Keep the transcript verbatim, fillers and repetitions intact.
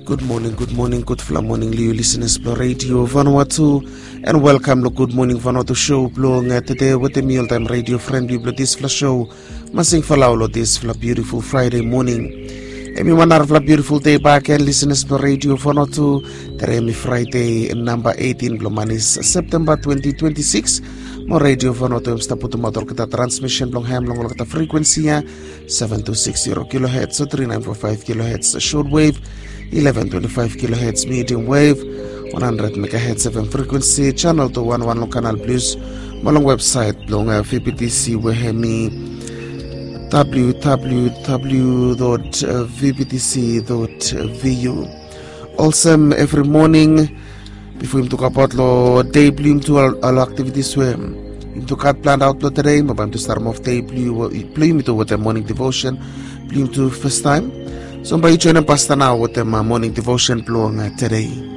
Gud moning, gud moning, gudfala moning long yu lisenas blong Radio Vanuatu. And welkam long Gud Moning Vanuatu show blong tede wetem mi oltaem radio fren blong yu blong disfala show, Masing Falau, long disfala biutiful Fraede moning. Em i wan narafala biutiful dei baken lisenas blong Radio Vanuatu. Tede em i Fraede namba eighteen blong manis Septemba twenty twenty-six. Mo Radio Vanuatu em stap putumaot olgeta transmisen blong hem long olgeta frekuensi ya, seven two six zero kilohertz o three nine four five kilohertz shortwave, eleven twenty-five kilohertz medium wave, one hundred megahertz F M frequency, channel two one one long Canal Plus, mo long website blong uh, V B T C we hem i W W W dot V B T C dot V U. Olsem evri moning, bifo yumi tok abaot long dei blong yumi tu ol aktivitis we yumi tu gat plan aot long tede, mo bae yumi tu statem of dei blong yumi tu wetem moning devotion blong yumi tu fastaem. So bae yu joenem pasta nao wetem uh, moning devotion blong uh, tede.